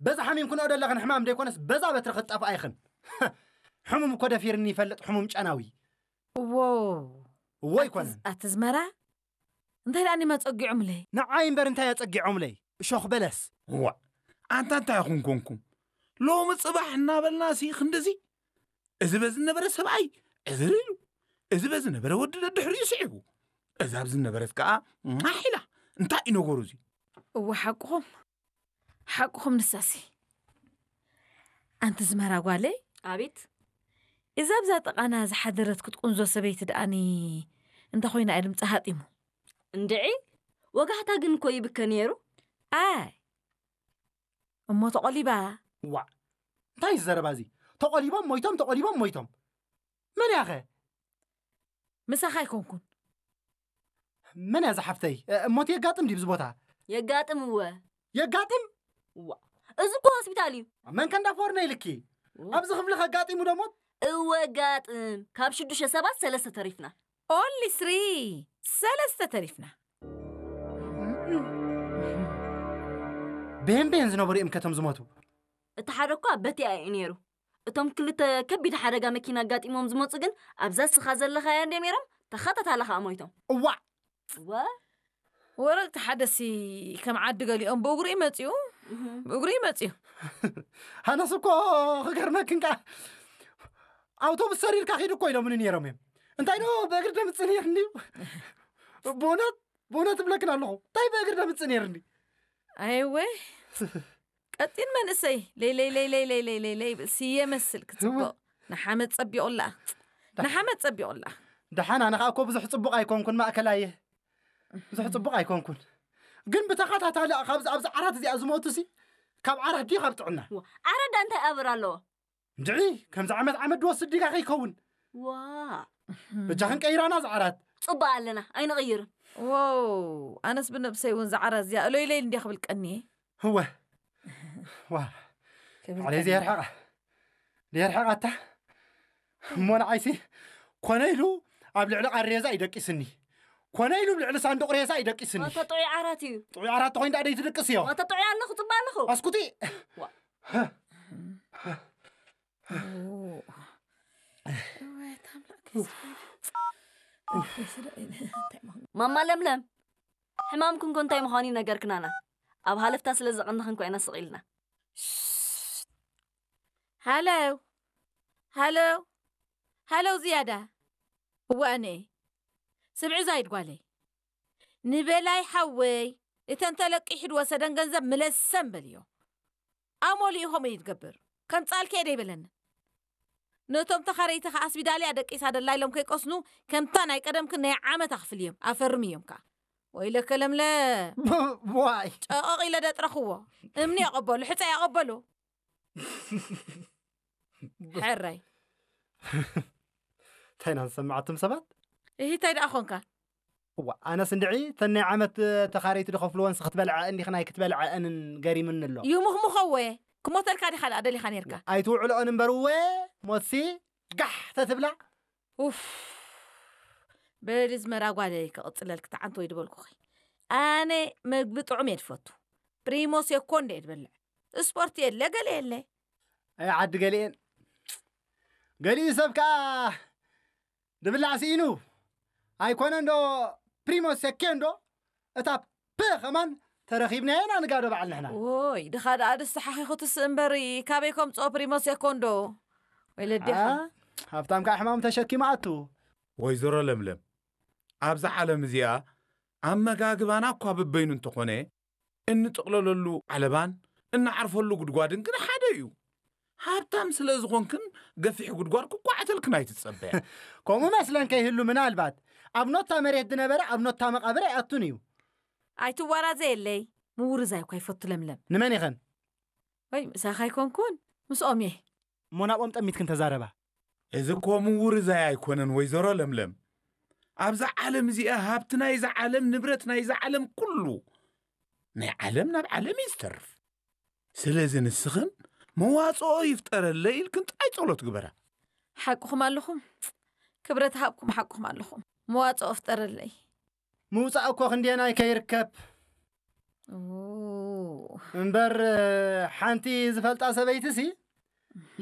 በዛ ሓሚም ክንኦ ደለኽን ሕማም ደይኮነስ በዛ በትሪ ክትጠፍኣ ኢኽን። ሕሙም እኮ ደፊርኒ ይፈልጥ፣ ሕሙም ጨናዊ። እዎ እዎ ኣይኮነን። ኣትዝመራ እንታይ ደኣ ኒማ ጸጊዖምለይ? ንዓይ እምበር እንታይ ኣጸጊዖምለይ? እሾኽ በለስ። እዋ፣ ኣንታ እንታይ ኢኹም ኮንኩም? ሎሚ ጽባሕ እናበልና ሲ ክንድዚ? እዚ በዚ ነበረ ሰብኣይ ዕዝር ኢሉ፣ እዚ በዚ ነበረ ወዲ ደድሕሪኡ ስዒቡ፣ እዛ ኣብዚ ነበረት ከኣ ማሕ ኢላ። እንታይ እዩ ነገሩ እዚ? እወ ሓቅኹም፣ ሓቅኹም ንሳሲ። ኣንቲ ዝመራ ጓለይ፣ ኣቤት። እዛ ኣብዛ ጥቓና ዝሓደረት ክትቁንዞ ሰበይቲ ደኣኒ እንተ ኾይና እየ ድምፂ ሃጢሙ። እንድዒ ወጋሕታ ግን እኮ ይብከ ነይሩ። ኣይ እሞ ተቖሊባ። ዋዕ፣ እንታይ እዩ ዘረባ እዚ? ተቖሊቦም ሞይቶም፣ ተቖሊቦም ሞይቶም። መን ያኸ? ምሳኻ ኣይኮንኩን። መን እያ ዝሓፍተይ? እሞት የጋጥም ድዩ ብዚ ቦታ? የጋጥም እወ። የጋጥም? ዋ፣ እዚ እኮ ሆስፒታል እዩ። መን ከንዳ ፎርነ ኢልኪ? ኣብዚ ክፍሊ ከጋጢሙ ደሞት? እወ ጋጥም። ካብ ሽዱሽተ ሰባት ሰለስተ ተሪፍና። ኦንሊ ስሪ፣ ሰለስተ ተሪፍና። ብሄን ብሄን ዝነበሩ እዮም ከቶም ዝሞቱ። እቲ ሓደ እኳ በቲኣ እዩ ነይሩ። እቶም ክልተ ከቢድ ሓደጋ መኪና ኣጋጢሞም ዝመፁ ግን ኣብዛ እስኻ ዘለኻያ እንደ ነይሮም ተኸታታሊ ከዓ ሞይቶም። እዋዕ! እወ ወረቅቲ ሓደሲ ከም ዓዲ ገሊኦም ብእግሩ ይመፅኡ ብእግሩ ይመፅኡ ሃነስ እኮ ክገርመክን ከዓ ኣውቶቡስ ሰሪርካ ኪድ እኮ ኢሎምኒ ነይሮም እዮም። እንታይ ዶ ብእግሪ ደምፅእ ነይርኒ። ብእውነት ብእውነት እብለክን ኣለኹ፣ እንታይ ብእግሪ ደምፅእ ነይርኒ። ኣይወ ቀጢን መንእሰይ ለይለይለይለይለይለይለይ ይብል ስየ መስል ክፅብቕ ንሓመድ ፀቢቑላ ንሓመድ ፀቢቑላ። ደሓን ኣነ ከዓ እኮ ብዙሕ ፅቡቕ ኣይኮንኩን፣ ማእከላየ ብዙሕ ፅቡቕ ኣይኮንኩን። ግን ብተኸታታሊ ኣብዚ ኣብዚ ዓራት እዚኣ ዝሞቱ ሲ ካብ ዓራት ድዩ ካብ ጥዕና? ዓራት ዳ እንታይ ኣበር ኣለዎ? እንድዒ ከምዚ ዓመት ዓመት ድወስድ ዲጋ ከይከውን። ዋ በጃኽን ቀይራና ዝዓራት። ጽቡቕ ኣለና ኣይንቕይርን። ዋው ኣነስ ብነብሰይ እውን ዝዓራት እዚኣ እሎይለይ እንዲያ ክብል ቀንየ። ህወ ዋ ክብል ዓለይ ቀንየ። ዘየርሕቓ ዘየርሕቓታ እሞ ንዓይሲ ኮነ ኢሉ ኣብ ልዕሊ ቃሬዛ ይደቂስኒ፣ ኮነ ኢሉ ኣብ ልዕሊ ሳንዱቕ ሬሳ ይደቂስኒ። ዋታ ጥዑይ ዓራት እዩ። ጥዑይ ዓራት ተኾይኑ ደኣ ደይትድቅስ እዮ። ዋታ ጥዑይ ኣለኹ ጽባ ኣለኹ። ኣስኩቲ ማማ ለምለም ሕማምክን ኮ እንታይ ምዃኑ ይነገርክናና ኣብ ሃለፍታ ስለ ዘቐንኽን ኮ ኢና ስቕ ኢልና ሃለው ሃለው ሃለው ዝያዳ እወ ኣነ ስምዒ ዛይድ ጓለይ ንበላይ ሓወይ እተን ተለቂሑ ዝወሰደን ገንዘብ ምለሰን በልዮ ኣሞሊኡ ከምኡ እዩ ዝገብር ከምፃልከ ደይበለንን ነቶም ተኻረይቲ ከዓ ኣስቢዳልያ ደቂሳ ደላ ኢሎም ከይቀስኑ ከምታ ናይ ቀደምክን ናይ ዓመት ኣኽፍልዮም ኣፈርምዮም ከዓ ወይለከ ለምለ ዋይ ጨቐቕ ኢለ ደጥረኽዎ እምኒ የቐበሉ ሕፀ የቐበሉ ሕራይ እንታይ ኢና ንሰምዓትም ሰባት እሂ እንታይ ደኣ ኾንካ እዋ ኣነስ እንድዒ ተን ናይ ዓመት ተኻረይቲ ድኸፍልወንስ ክትበልዐ እንዲኽናይ ክትበልዐ እንን ገሪምኒ ኣሎ ይሙኽሙኸወ ክሞተልካ ዲኻ ደኣ ደሊኻ ነርካ ኣይትውዕልኦን እምበር እወ ሞትሲ ጋሕ ተትብላ ኡፍ በሊ ዝመራ ጓለይ ክቕፅለልክ ተዓንቶ ይድበልኩኺ ኣነ መግቢ ጥዑም እየ ድፈቱ ፕሪሞ ሴኮንድ እየ ድበልዕ ስፖርት የለ ገለ የለ ኣይ ዓዲ ገሊኤን ገሊኡ ሰብ ከኣ ድብላዕ ስኢኑ ኣይኮነን ዶ ፕሪሞ ሴኮንዶ እታ ፕ ከማን ተረኺብናዮ ኢና ንጋዶ በዓል ንሕና ዎይ ድኻ ደኣ ድስሓኺ ክትስእ እምበሪ ካበይ ከምፅኦ ፕሪሞ ሴኮንዶ ወይለዴኻ ሃብታም ከዓ ሕማም ተሸኪማ ኣቱ ወይዘሮ ለምለም ኣብዛ ዓለም እዚኣ ኣመጋግባና እኳ ብበይኑ እንተኾነ እንጥቕለለሉ ዓለባን እንዓርፈሉ ጉድጓድን ግን ሓደ እዩ። ሃብታም ስለ ዝኾንክን ገፊሕ ጉድጓድ ክቋዕተልክን ኣይትጸበያ። ከምኡ መስለን ከይህሉ ምናልባት ኣብ ኖታ መሬት ዝነበረ ኣብ ኖታ መቓብር ኣይኣቱን እዩ። ኣይትዋራዘየለይ ምውርዛይ እኳ ይፈቱ ለምለም። ንመን ኢኸን? ወይ ምሳኻ ኣይኮንኩን ምስኦም እየ። እሞ ናብኦም ጠሚትክን ተዛረባ። እዚ እኮ ምውርዛይ ኣይኮነን ወይዘሮ ለምለም። ኣብዛ ዓለም እዚኣ ሃብቲ ናይዛ ዓለም ንብረት ናይዛ ዓለም ኩሉ ናይ ዓለም ናብ ዓለም እዩ ዝተርፍ። ስለዚ ንስኽን መዋፅኦ ይፍጠረለይ ኢልክን ጥራይ ፀሎት ግበራ። ሓቅኹም ኣለኹም። ክብረት ሃብኩም ሓቅኹም ኣለኹም። መዋፅኦ ፍጠረለይ። ምውፃእ እኮ ክንደየናይ ከይርከብ። እምበር ሓንቲ ዝፈልጣ ሰበይትሲ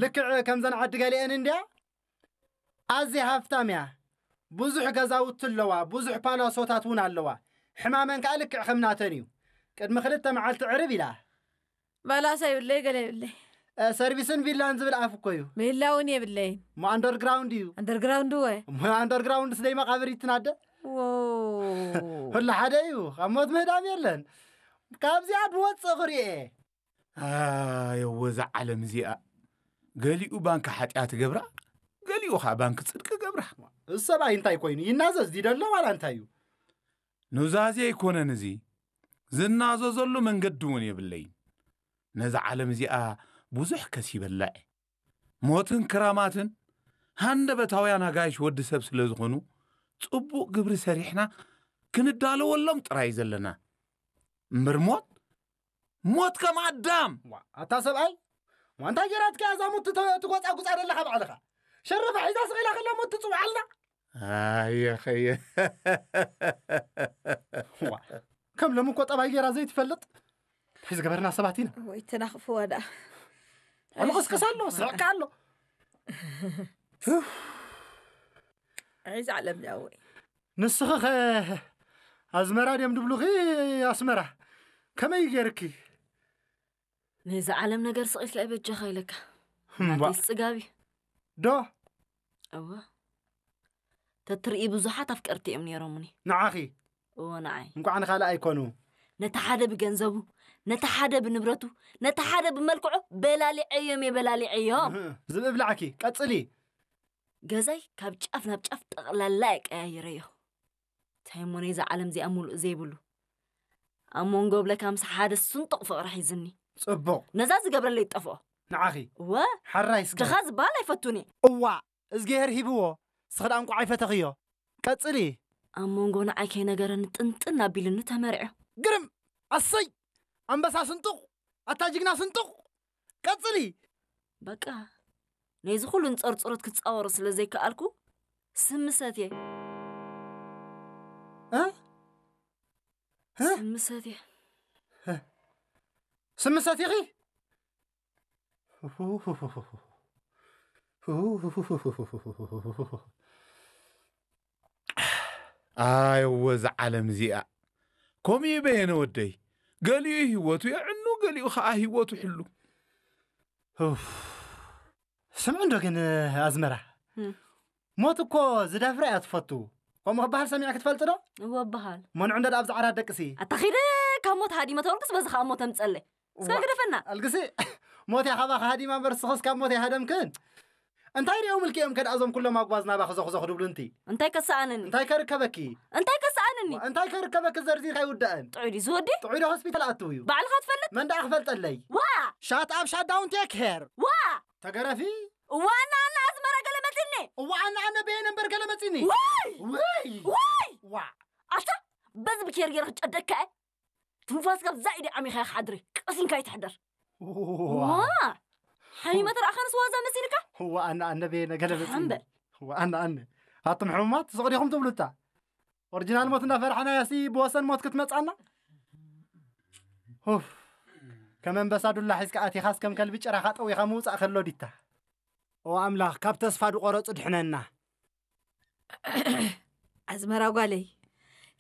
ልክዕ ከምዘን ዓዲ ገሊአን እንድያ። ኣዝያ ሃፍታም እያ። ብዙሕ ገዛውቲ ኣለዋ፣ ብዙሕ ፓላሶታት እውን ኣለዋ። ሕማመን ከኣ ልክዕ ከም ናተን እዩ። ቅድሚ ክልተ መዓልቲ ዕርብ ኢላ። ባላሳ ይብለይ፣ ገለ ይብለይ። ሰርቪስን ቪላን ዝብል ኣፍ እኮ እዩ። ቪላ እውን የብለይን። እሞ ኣንደርግራውንድ እዩ። ኣንደርግራውንድ ወ እሞ ኣንደርግራውንድ ስደይ መቃብር ይትናደ። ወ ሁሉ ሓደ እዩ። ካብ ሞት ምህዳም የለን። ካብዚኣ ብወፅእ ክርእየ። ኣየወ እዛ ዓለም እዚኣ፣ ገሊኡ ባንኪ ሓጢኣት ገብራ፣ ገሊኡ ኸዓ ባንኪ ፅድቂ ገብራ። እዚ ሰብኣይ እንታይ ኮይኑ ይናዘዝ ድዩ ደሎ ዋላ እንታይ እዩ? ኑዛዜ ኣይኮነን እዚ፣ ዝናዘዘሉ መንገዲ እውን የብለይን። ነዛ ዓለም እዚኣ ብዙሕ ከሲበላ እየ። ሞትን ክራማትን ሃንደበታውያን ኣጋይሽ ወዲ ሰብ ስለ ዝኾኑ፣ ጽቡቕ ግብሪ ሰሪሕና ክንዳለወሎም ጥራይ ዘለና። እምበር ሞት፣ ሞት ከም ኣዳም። ዋ፣ ኣታ ሰብኣይ፣ ዋ፣ እንታይ ጌራትካ እዛ ሞት ትተ-፣ ትጎጻጉጻ ዘለኻ ባዕልኻ? ሸረፋ ሒዛ ስቕ ኢላ ከላ ሞት ትጽውዓልና? ኣየ ኸየ። ዋ፣ ከም ሎሚ እኮ ጠባይ ጌራ ዘይትፈልጥ። እንታይ ዝገበርና ሰባት ኢና? ወይ ተናኽፍዋ ደኣ። ኣልቕስቅስ ኣሎ፣ ስሕቕካ ኣሎ። ዒዛ ዓለም ዳወይ። ንስኺ ኸ ኣዝመራ ድዮም ድብሉኺ ኣስመራ? ከመይ ጌርኪ? ነዚ ዓለም ነገር ስቕ ኢልካ ኣይበጃኻ ኢለካ። እምባ። ናተይስ ጽጋብ እዩ። ዶ? እወ። ተትርኢ ብዙሓት ኣፍቀርቲ እዮም ነይሮምኒ። ንዓኺ? እወ፣ ንዓይ። እንቋዕ ንኻልእ ኣይኮኑ። ነቲ ሓደ ብገንዘቡ፣ ነቲ ሓደ ብንብረቱ፣ ነቲ ሓደ ብመልክዑ በላሊዐዮም እየ፣ በላሊዐዮም። እህ፣ ዝብኢ ብላዕኪ፣ ቀጽሊ። ገዛይ ካብ ጫፍ ናብ ጫፍ ጠቕላላ እየ ቀያይረዮ። እንታይ እሞ ነይዛ ዓለም እዚኣ ሙሉእ ዘይብሉ። ኣብ መንጎ ብለካ ምስ ሓደ ስንጡቕ ፍቕሪ ሒዝኒ። ጽቡቕ። ነዛ ዝገብረለይ ይጠፍኦ። ንዓኺ? እወ። ሓራይ እስከ። ድኻ ዝበሃል ኣይፈቱን እየ። እዋ፣ እዝግሄር ሂብዎ፣ እስኺ ደኣ እንቋዕ ኣይፈተኽዮ። ቀጽሊ። ኣብ መንጎ ንዓይ ከይነገረኒ ጥንጥን ኣቢሉኒ ተመርዕዮ። ግርም! ኣሰይ! ኣንበሳ ስንጡቕ! ኣታ ጅግና ስንጡቕ! ቀጽሊ! በቃ፣ ነዚ ኩሉ ንጸርጽሮት ክጻወሮ ስለ ዘይከኣልኩ፣ ስሚ ሰትየ። እ? እ? ስሚ ሰትየ። ስሚ ሰቲኺ? ኣየወ እዛ ዓለም እዚኣ። ከምኡ እዩ በየነ ወደይ። ገሊኡ ህይወቱ የዕኑ፣ ገሊኡ ኸዓ ህይወቱ ሕሉ። ኡፍ። ስምዑ እንዶ ግን ኣዝመራ። እም። ሞት እኮ ዝደፍራ እያ ትፈቱ። ከምኡ ክበሃል ሰሚዕኪ ትፈልጢ ዶ? እወ፣ እበሃል። መንዑ እንዶ ደኣ ብዛ ዓራት ደቅሲ። ኣታ ኺደ ካብ ሞት ሃዲመ ተበልኩስ በዚ ኸኣ ሞት ኣምጸለይ። እስከ እዋ፣ ግደፈና። ኣልግሲ፣ ሞት እያ ካባኺ ሃዲማ እምበር፣ ንስኽስ ካብ ሞት ኣይሃደምክን። እንታይ ሪኦም ኢልኪ እዮም ከድኣ እዞም ኩሎም ኣጉባዝ ናባኺ ዞኽዞኽ ድብሉ እንቲ? እንታይ ከሰኣነኒ? እንታይ ከርከበኪ? እንታይ ከሰኣነኒ? እንታይ ከርከበኪ ዘርዚርካ ኣይውዳእን። ጥዑይ ድዩ ዝወዲ? ጥዑይ ዶ ሆስፒታል ኣትው እዩ? ባዕልኻ ትፈልጥ? መን ደኣ ክፈልጠለይ? ዋ! ሻት ኣፕ ሻት ዳውን ቴክ ሄር። ዋ! ተገረፊ? እዋ፣ ኣነ፣ ኣነ ኣዝመራ ገለ መጺኒ። እዋ፣ ኣነ፣ ኣነ በየነ እምበር ገለ መጺኒ። ውይ! ውይ! ውይ! ዋ! ኣታ፣ በዚ ብኬር ገይረ ክጨደካ እየ። ትንፋስ ካብ ዛኢዲ ዓሚኻ ኢኻ ሓድሪ፣ ቀሲንካ ኣይትሕደር። ዋ! ዋ! ሓሚመ ተረኣኻንስ ዋዛ መሲልካ? ዋ፣ ኣነ፣ ኣነ በየነ ገለ መጺኒ። ሓምበል። ዋ፣ ኣነ፣ ኣነ። ኣቱም ሕሙማት ስቕ ዲኹም ትብሉታ? ኦሪጂናል ሞት እንዳፈራሕናያሲ ብወሰን ሞት ክትመጻና? ኡፍ። ከም ኣንበሳ ዱላ ሒዝካ ኣቲኻስ ከም ከልቢ ጭራኻ ጠዊኻ ምውጻእ ከሎ ዲታ? ኦ ኣምላኽ፣ ካብ ተስፋ ድቆረጹ ድሕነና። ኣዝመራ ጓለይ፣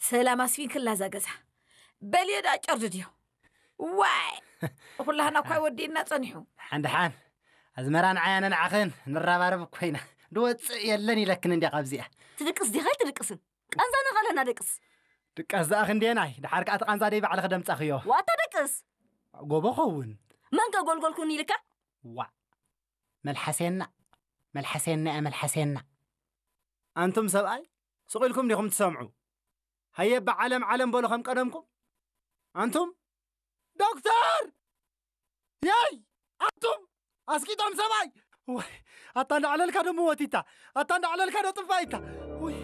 ሰላም ኣስፊንክላ እዛ ገዛ። በልዮ ደኣ ጨርድድዮ። ዋይ! ኩላህና እኳ ወዲእና ጸኒሑ። ሓን ደሓን፣ ኣዝመራ ንዓይ ኣነ ንዓኽን ንራባረብ እኮ ኢና። ድወጽእ የለን ኢለክን እንድያ ካብዚኣ። ትድቅስ ዲኻ ኣይትድቅስን? ቃንዛ ንኸለና ደቅስ። ድቃስ ደኣ ክንደየናይ? ደሓር ከኣ እቲ ቃንዛ ደይ ባዕልኺ ደምጻኽዮ። ዋታ ደቅስ። ጎቦ ኸውን። መን ከ ጎልጎልኩን ኢልካ? ዋእ። መልሓሴና፣ መልሓሴና እያ፣ መልሓሴና። ኣንቱም ሰብኣይ፣ ስቕ ኢልኩም ዲኹም ትሰምዑ? ሃየ፣ ብዓለም ዓለም በሉ ከም ቀደምኩም። ኣንቱም፣ ዶክተር! የይ! ኣንቱም፣ ኣስቂጦም ሰብኣይ! ወይ፣ ኣታ እንዳዕለልካ ዶ ምወቲታ? ኣታ እንዳዕለልካ ዶ ጥፋኢታ? ወይ!